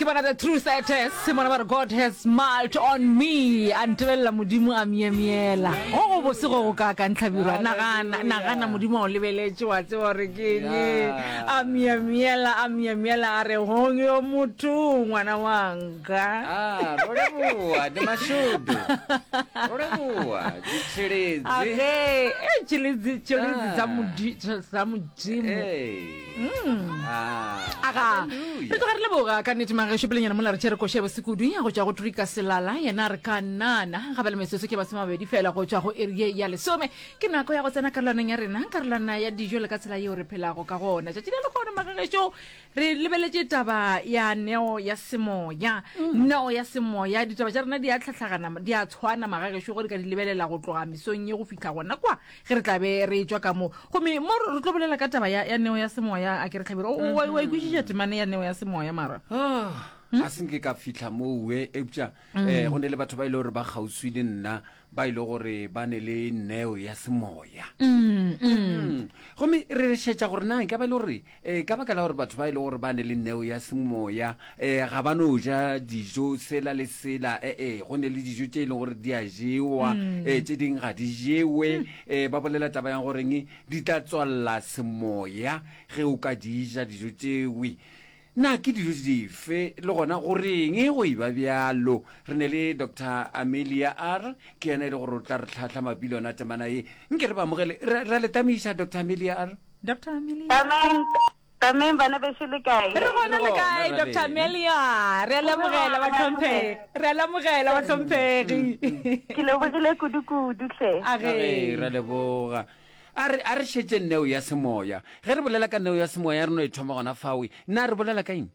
Ke bona the true status mona ba re God has smiled on me a ntebelela modimo a myemyela go go bose go go kaakang tlhabirwa nagana nagana modimo a o lebeletše wa tseba gore ke eng a myemyela a myemyela a re gong yo motho ngwana wanka Ah, ro leboa ndi mashudu ro leboa dzitshiledzi age e tshilidzi tshilidzi dza mudi dza mudzimu Ee. Aga, re tloga re leboga ka nnete magešo pelenyana mola re tšere koša ya bosekudu ya go tšwa go Trika Selala yena re ka nana ga ba le metsotso ke masomabedi fela go tšwa go iri ye ya lesome ke nako ya go tsena karolwaneng ya rena karolwana ya dijo le ka tsela yeo re phelago ka gona tšatši la lehono magagešo re lebeletše taba ya neo ya semoya neo ya semoya ditaba tša rena di a tlhatlhagana di a tshwana magagešo go re ka di lebelela go tloga mesong ye go fihla gona kwa ge re tla be re etšwa ka mo gomme mo re tlo bolela ka taba ya, ya neo ya semoya a ke re tlhabelo o wa wa ikwešiša temane ya neo ya semoya mara Ah, ga se nke ka fitlha mowe eupša um go ne le batho ba e le gore ba kgauswi le nna ba e le gore ba ne le neo ya semoya Mm. gomme re šetša gore na e ka ba e le gore um ka baka la gore batho ba e le gore ba ne le neo ya semoya um ga ba no ja dijo sela le sela ee go ne le dijo tše e leng gore di a jewa um tše dingwe ga di jewe um ba bolela taba ya goreng di tla tswalela semoya ge o ka di ja dijo tšewe na ke dijo dife le gona goreng go e ba bjalo re ne le dr amelia r ke yena e le gore o tla re tlhahla mabapi le yona temana ye nke re ba amogele re ra le tamiša dr amelia r Dr. Amelia. Tameng, tameng bana bešo le kae? Re gona le kae Dr. Amelia? Re a lemogela bahlomphegi. Re a lemogela bahlomphegi. Ke lebogile kudu-kudu hle. A ge re leboga. A re a re šetše neo ya semoya. Ge re bolela ka neo ya semoya re no e thoma gona fawe. Na re bolela ka eng?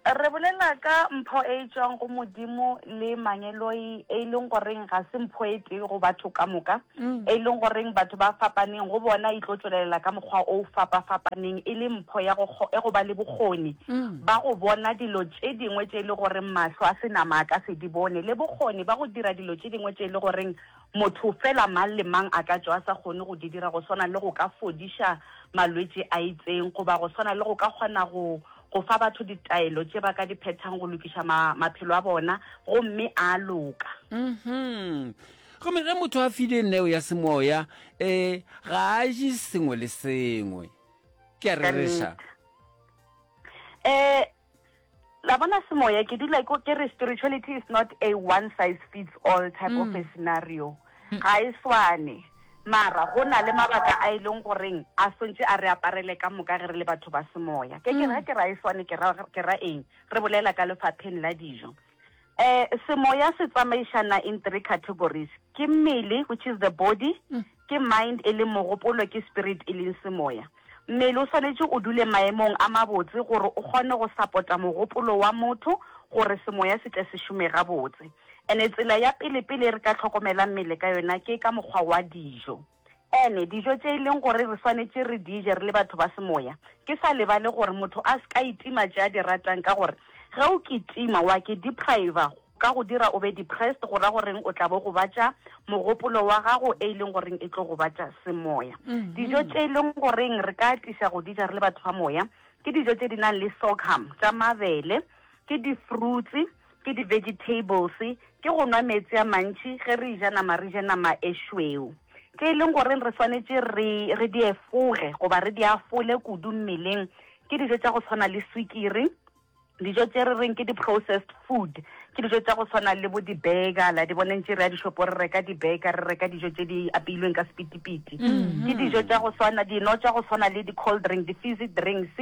Re bolela ka mpho e e tšwang go Modimo le mangeloi e leng goreng ga se mpho e tee go batho ka moka, e leng goreng batho ba fapaneng go bona e tlo tšwelelela ka mokgwa o fapa-fapaneng e le mpho ya go, ya go ba le bokgoni ba go bona dilo tše dingwe tše e le goreng mahlo a senama a ka se di bone le bokgoni ba go dira dilo tše dingwe tše e le goreng motho fela mang le mang a ka tšwa a sa kgone go di dira go swana le go ka fodiša malwetši a itseng goba go swana le go ka kgona go go fa batho ditaelo tše ba ka di phethang go lokiša ma, maphelo a bona gomme a loka. Mhm. Gomme ge motho a file neo ya semoya, um ga a je sengwe le sengwe. Ke a rereša. Um la bona semoya ke dula ke re spirituality is not a one size fits all type mm. of a scenario mm. ga e swane mara go na le mabaka a e leng goreng a swantse a re aparele ka moka ge re le batho ba semoya ke ke ra ke ra e swane ke ra ke ra eng re bolela ka lefapheng la dijo eh semoya se tsamaišana in three categories ke mmele which is the body mm. ke mind e leng mogopolo ke spirit e leng semoya Mmele o swanetše o dule maemong a mabotse gore o kgone go sapota mogopolo wa motho gore semoya se tle se šome gabotse. Ene tsela ya pele pele re ka hlokomelang mmele ka yona ke ka mokgwa wa dijo. Ene dijo tše e leng gore re swanetše re di je re le batho ba semoya, ke sa lebale gore motho a se ka itima tše a di ratang ka gore ge o kitima wa ke depriver ka go dira o be depressed go ra goreng o tla bo gobatša mogopolo wa gago e leng goreng e tlo gobatša semoya. Dijo tše e leng goreng re ka atiša go di ja re le batho ba moya ke dijo tše di nang le sorghum tša mabele, ke di-fruits, ke di-vegetables, ke go nwa meetse a mantši, ge re ja nama re je nama e šweu. Tše e leng goreng re swanetše re re di efoge goba re di afole kudu mmeleng ke dijo tša go tshwana le swikiri, Dijo tše re reng ke di-processed food ke dijo tša go swana le bo di-burger, la di bona ntše re ya dishopo re reka di-burger, re reka dijo tše di apeilweng ka sepitipiti. Ke dijo tša go swana, dino tša go swana le di-cold drink, di-fizzy drinks,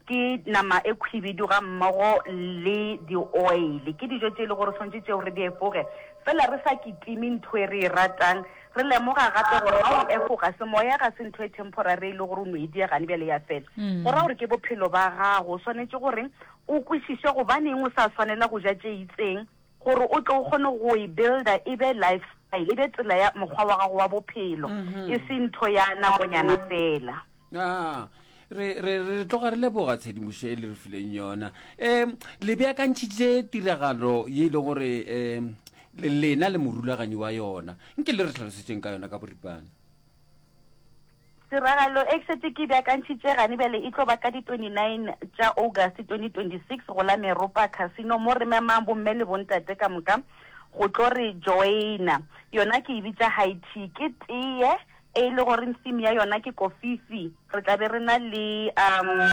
ke nama e khwibidu ga mmogo le di-oil. Ke dijo tše e le gore tshwanetše tšeo re di efoge, fela re sa kitime ntho e re e ratang. Re lemoga gape gore ga o efoga semoya ga se ntho e temporary e le gore o no e dia gane bjale ya fela. Go ra gore ke bophelo ba gago. O swanetše gore o kwešiše gobaneng o sa swanela go ja tše itseng gore o tle o kgone go e builder e be lifestyle, e be tsela ya mokgwa wa gago wa bophelo, e se ntho ya nakonyana fela. Ah, re, re, re tloga re leboga tshedimošo e le re fileng yona. Um le beakantšhitše tiragalo ye e leng gore um lena le morulaganyi wa yona. Nke le re hlalosetšeng ka yona ka boripana. Tiragalo e ke šetše ke e beakantšhitše gane bjale e tlo ba ka di 29 tša August 2026 go la Meropa Casino mo re memang bomme le bontate ka moka go tlo re joina. Yona ke e bitša High Tea. Ke teye e e le goreng theme ya yona ke kofifi. Re tla be re na le um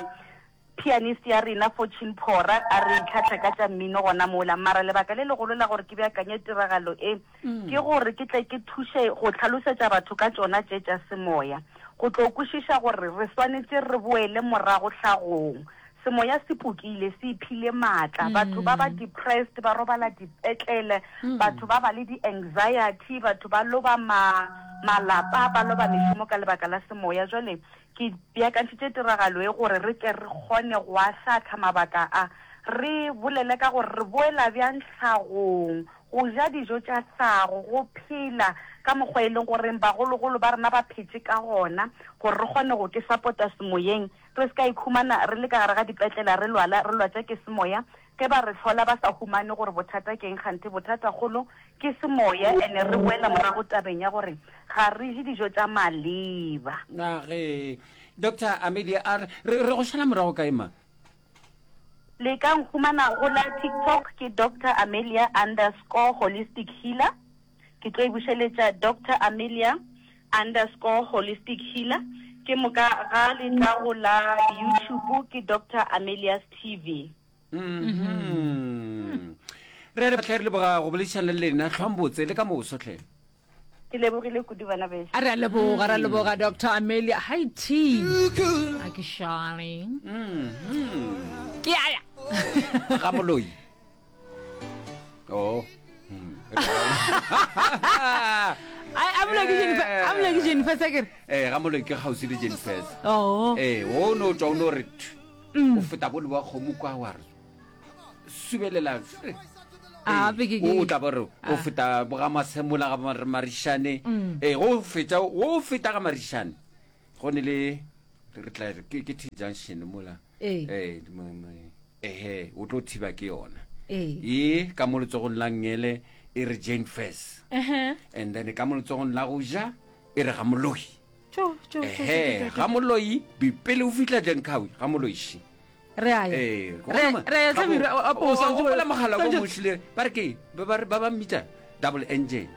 Pianist ya rena Fortune Phora a re tlhahla ka tša mmino gona mola. Mara lebaka le legolo la gore ke beakanye tiragalo e ke gore ke tle ke thuše go hlalosetša batho ka tšona tše tša semoya, go tlo kwešiša gore re swanetše re boele morago hlagong. Semoya se pukile, se iphile maatla. Batho ba ba depressed, ba robala dipetlele, batho ba ba le di-anxiety, batho ba loba ma, malapa, ba loba mešomo ka lebaka la semoya. Jwale Ke beakantšhitše tiragalo ye gore re tle re kgone go ahlaahlha mabaka a, re bolele ka gore re boela bjang tlhagong, go ja dijo tša tlhago, go phela ka mokgwa e leng goreng bagologolo ba rena ba phetše ka gona, gore re kgone go ke sapota semoyeng, re se ka ikhumana re le ka gare ga dipetlela re lwala, re lwatša ke semoya, ge ba re hlola ba sa humane gore bothata ke'ng, kganthe bothatagolo ke semoya, ene re boela morago tabeng ya gore ga re je dijo tša maleba. Na ge Doctor Amelia a re, re, re go šala morago kae ma? Le ka nkhumana go la TikTok ke Doctor Amelia underscore holistic healer. Ke tlo e bušeletša Doctor Amelia underscore holistic healer. Ke moka ga le tla go la YouTube ke Doctor Amelia's TV. Mhm. Re re hle re leboga go boledišana le lena hlwang botse le ka moso hle. Ke lebogile kudu bana bešo. A re a leboga, re a leboga Doctor Amelia. Hi T. A ke šale. Ke a ya. Ga moloi. Oh. A moloi ke Jennifer, a moloi ke Jennifer Sekere. Eh, ga moloi ke kgauswi le Jennifer. Oh. Eh, o no tšwa o no re thu. O feta bo le wa kgomo kwa wa re subelela. A, be ke- ke- O tla ba re o feta bo ga Masemola ga Mar- Marišane. Ee, go feta go feta ga Marišane. Go ne le re tla re ke ke T junction mola. Ee. Eh, mo- mo- ehe, o tlo thiba ke yona. Ee. E ka mo letsogong la ngele e re Jane Furse. Ehe. And then ka mo letsogong la go ja e re ga Moloi. Tšo, tšo, tšo, tšo, Ehe, tšo, tšo, ga tšo. Moloi pele o fihla Jenkawi ga Moloi shi. Re a ya. Ee, Re re ya Samir, a- a- o swantse- gopola mogala ko swantse- mošile ba re ke ba ba re- ba ba mmitša double engine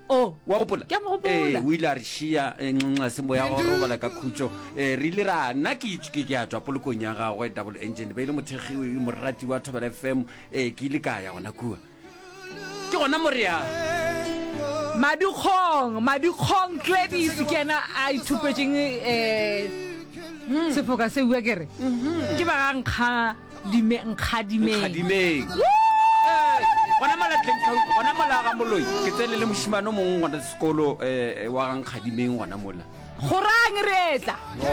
Oh. wa gopola Ke a mo gopola. Ee, o ile a re šia eh, nxa se moya wa go robala ka khutšo Eh, re ile ra nna ke ke ke a tswa polokong ya gagwe double engine be e le mothekgi morati wa thobela fm ee ke ile ka ya gona kua Ke gona mo re yang. Madikgong, Madikgong Gladys ke yena a ithupetšeng um sefoka se bua ke re ke ba ga Nkgadime Nkgadimeng. Nkgadimeng. Gona mola Glencoe, gona mola ga Moloi, ke tsene le mošemane o mongwe gona sekolo um wa ga Nkgadimeng gona mola. Gorang re etla. Oh.